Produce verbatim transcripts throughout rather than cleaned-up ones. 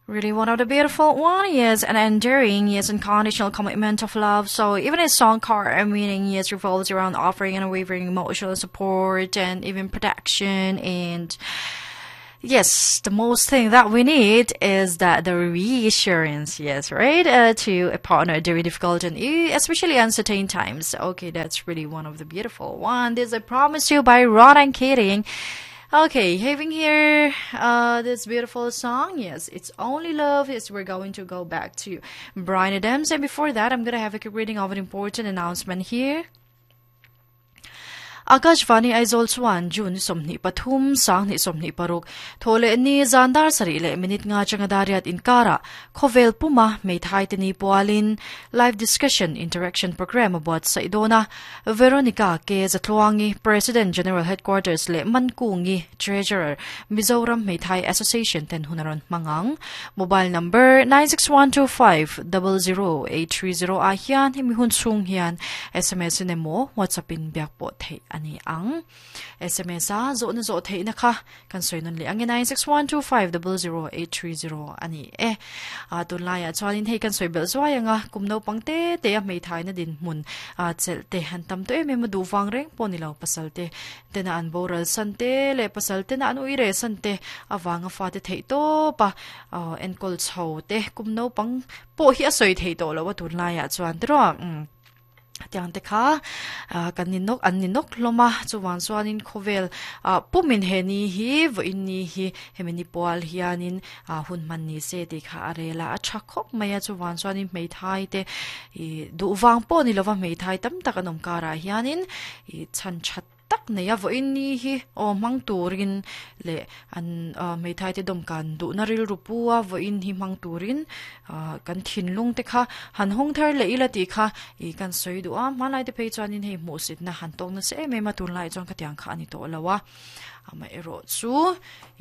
Really one of the beautiful one, yes, and enduring, yes, unconditional commitment of love. So even a song car meaning, yes, revolves around offering unwavering emotional support and even protection and yes, the most thing that we need is that the reassurance, yes, right, uh, to a partner during difficult and especially uncertain times. Okay, that's really one of the beautiful one. This I promise you by Ronan Keating. Okay, having here uh, this beautiful song. Yes, it's Only Love. Yes, we're going to go back to Bryan Adams. And before that, I'm going to have a quick reading of an important announcement here. Akashvani Aizawl chuan June sawmhnih pathum sanghnih sawmhnih paruk Thawhlehni zan dar sarih leh minute nga atanga dar riat inkara khawvel puma hmeithai te ni pualin live discussion interaction program a buatsaih dawn a Veronica K Zatluangi President General Headquarters leh Mankungi Treasurer Mizoram Hmeithai Association ten hun a rawn hmang ang mobile number nine six one two five double zero eight three zero ah hian hemi hun chhung hian sms in emaw whatsapp in biak pawh theih ani ang sms a zawhna zawh theihna kha kan sawi nawn leh ang e nine six one two five double zero eight three zero ani e a tunlaiah chuanin hei kan sawi belh zuai anga kum naupang te te a hmeithaina dinhmun a chelh te han tam tawh em em a duh vang reng pawh ni lo pasal te tena an boral san te leh pasal tena an ui reh san te avanga fate theih tawp a enkawl chho te kum naupang pawh hi a sawi theih tawh lo a tunlaiah chuan tiraw umm Tiang te kha kan ni nawk an ni nawk hlawm a, chuvang chuanin khawvel ah pumin he ni hi vawiin ni hi hemi ni pual hianin ah hun hman ni se tih kha a rel a, a tha khawp mai a, chuvang chuanin hmeithai te ih duh vang pawh ni lova hmeithai tam tak an awm karah hianin ih chhan that tak nei a vawiin ni hi aw hmang turin leh an ah hmeithai te dawmkan duhna rilru pu a vawiin hi hmang turin ah kan thinlung te kha han hawng thar leh ila tih kha ih kan sawi duh a hmanlai te phei chuanin hei hmuhsitna han tawk nasa em em a tunlaiah chuan khatiang kha a ni tawh lo a amaherawh chu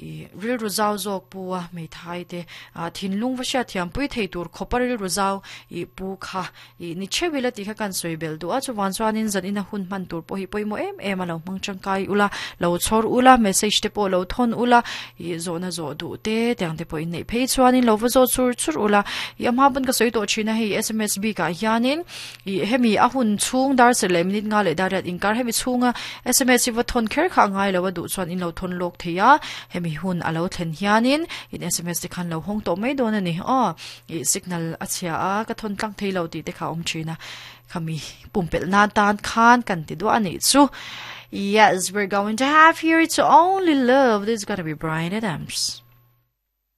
ih rilru zau zawk pu a hmeithai te ah thinlung va hriat thiam pui thei tur khawpa rilru zau ih pu kha ih ni theuh ila tih kha kan sawi belh duh a chuvang chuanin zan ina hun hman tur pawh hi pawimawh em em a lo hmang tangkai ula lo chhawr ula message te pawh lo thawn ula ih zawhna zawh duh te tiang te pawh inneih phei chuanin lo va zawh chur chur ula ih a hma pawn ka sawi tawh thin a hei sms bikah hianin ih hemi a hun chhung dar serh leh minute nga leh dar riat inkar hemi chhunga sms hi va thawn kher kha a ngai lo a duh chuan in lo thawn lawk thei a hemi hun a lo thlen hianin in sms te khan lo hawng tawh mai dawn a ni aw ih signal a chhia a ka thawn tlang thei lo tih te kha a awm thin a khami pumpelh nan tan khan kan ti duah a nih chu yes we're going to have here it's only love this is gonna be Bryan Adams.